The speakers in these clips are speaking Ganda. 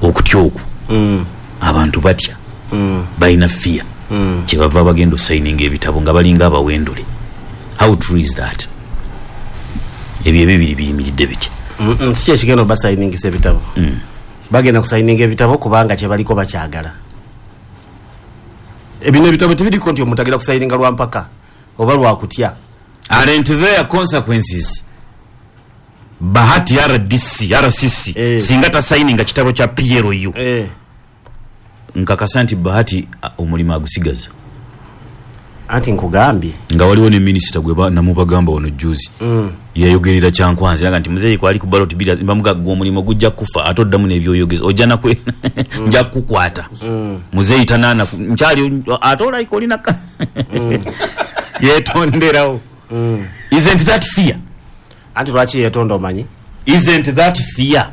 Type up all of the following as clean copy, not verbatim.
Okutya okwo, abantu batya, balina fear, kyebava bagenda osayininga ebitabo nga balinga abawendule. How true is that? Ebyo ebibiri biyimiridde bitya? Si kyekigenda obasayiningisa ebitabo. Bagenda kusayininga ebitabo kubanga kyebaliko bakyagala. Ebino ebitabo tebiriko nti omuntu agenda kusayininga lwa mpaka oba lwakutya. Aren't there consequences? Bahati RDC, RCC, singa tasayininga kitabo kya PLU, nkakasa nti Bahati omulimu agusigaza. Anti nkugambye nga waliwo ne minisita gwe namubagamba wano juzi, yayogerera Kyankwanzi nga nti muzeeyi kwali ku ballot bira bamuga gwe omulimu gujja kufa, ate oddamu n'ebyoyogeza ojja nakwe nja kukwata. Muzeeyi tanaana nkyali ate olayika olina yetonderawo. Isn't that fear? Anti lwaki yetonda omanyi? Isn't that fear?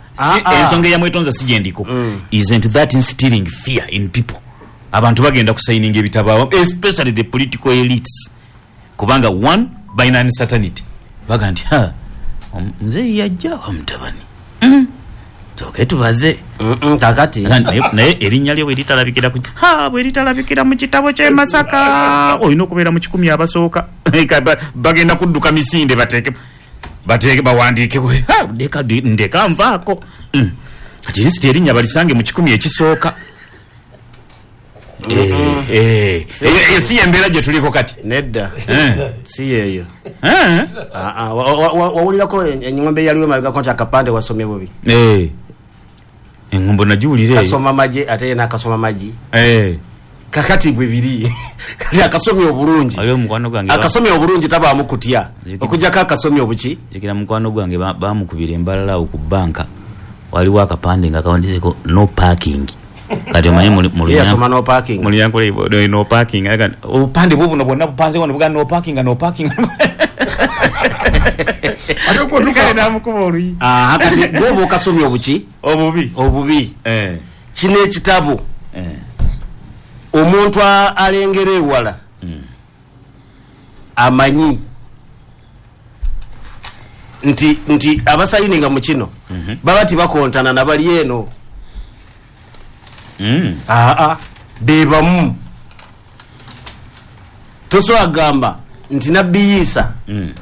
Ensonga eyamwetonza si gyendiko. Isn't that instilling fear in people? Abantu bagenda kusayininga ebitabo, especially the political elites, kubanga one, balina uncertainty. Baga nti ha, muzeeyi yajja wa mutabani, tooke tubaze. Kakati naye erinnya lye bweritalabikira ku ha, bweritalabikira mu kitabo ky'e Masaka, olina okubeera mu 10 abasooka. Bagenda kudduka misinde, bateeke bawandiike, ndeka nvaako. Ati lisiti erinnya balisange mu 10 ekisooka. Si embeera gye tuliko kati. Nedda, si yeeyo. Wawulirako engombe eyaliwo emabegako nti akapande wasomye bubi? Engombo nagiwulira eyo. Kasoma magye ate ye n'akasoma magi. Kakati bwe biri. Kati akasomye obulungi. Akasomye obulungi tabaamu kutya. Okuggyako akasomye obuki? Jjukira mukwano gwange bamukubira embalala awo ku bbanka. Waliwo akapande nga kawandiiseko no parking. Kati omanyi yasoma no parking. Mulyankola no parking. Obupande bwo buno bwonna bupanze wano bugamba no parking, no parking. Ate namukuba oluyi. Kati gwoba okasomye obuki? Obubi. Obubi. Kino ekitabo omuntu alengera ewala amanyi nti abasayininga mu kino baba tibakontana nabali eno. Bebamu. Tosobola kugamba nti Nabbi Isa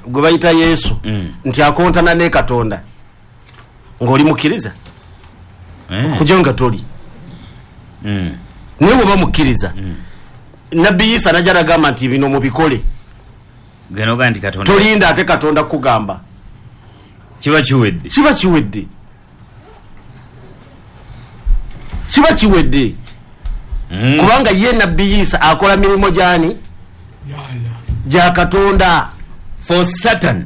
gwe bayita Yesu nti akontana ne Katonda ng'oli mukkiriza, kujja nga toli. Naye bw'oba mukkiriza, Nabbi Isa najja nagamba nti bino mubikole, tolinda ate Katonda kugamba. Kiba kiwedde. Kiba kiwedde. Kiba kiwedde. Kubanga ye Nabbi Isa akola mirimu gyani? Gya Katonda. For Satan.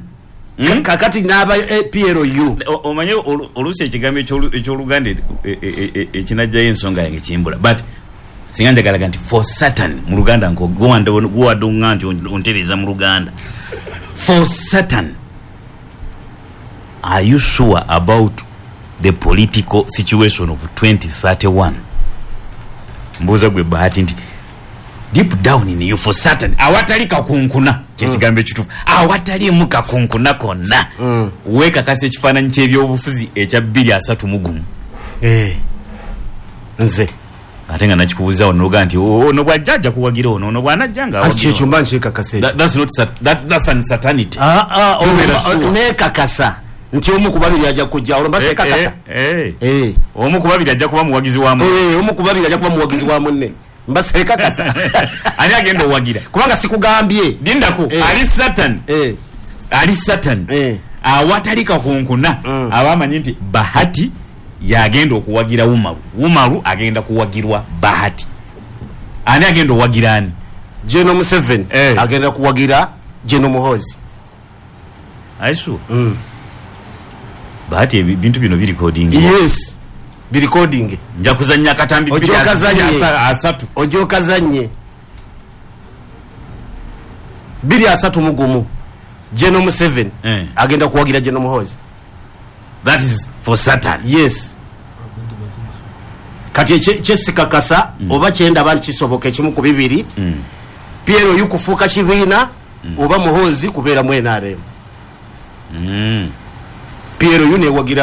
Kakati n'aba PLU. Omanye oluusi ekigambo eky'Oluganda ekinajjayo ensonga yange kimbula. But singa njagalaga nti for Satan mu Luganda guwadde oŋŋa nti ontereeza mu Luganda. For Satan, are you sure about the political situation of 2031? Mbuuza gwe Bahati nti deep down in you, for certain, awatali kakunkuna, kyekigambo ekituufu, awataliimu kakunkuna konna, weekakasa ekifaananyi ky'ebyobufuzi ekya 2031. Nze ate nga nakikubuuza wano noga nti ono bw'ajja ajja kuwagira ono, ono bw'anajja nga awagira. Kyekyo mba nkyekakasa ekyo. That's not that's uncertainty. Neekakasa nti omu ku babiri ajja kujja, olwo mba seekakasa. Omu ku babiri ajja kuba muwagizi wa munne. Omu ku babiri ajja kuba muwagizi wa munne. Mba seekakasa. Ani agenda owagira? Kubanga sikugambye. Lindako, ali Satan. Ali Satan. Awatali kakunkuna, abamanyi nti Bahati yagenda okuwagira Umaru. Umaru agenda kuwagirwa Bahati. Ani agenda owagira ani? General Museveni agenda kuwagira General Muhoozi. Aisu. Bahati ebintu bino biri recording. Yes. Bi recording. Nja kuzannya katambi 230. Ojjo kazannye. 231. General Museveni agenda kuwagira General Muhoozi. That is for certain. Yes. Kati kyesikakasa oba kyenda abantu kisoboka ekimu ku bibiri. PLU kufuuka kibiina oba Muhoozi kubeera mu NRM. PLU newagira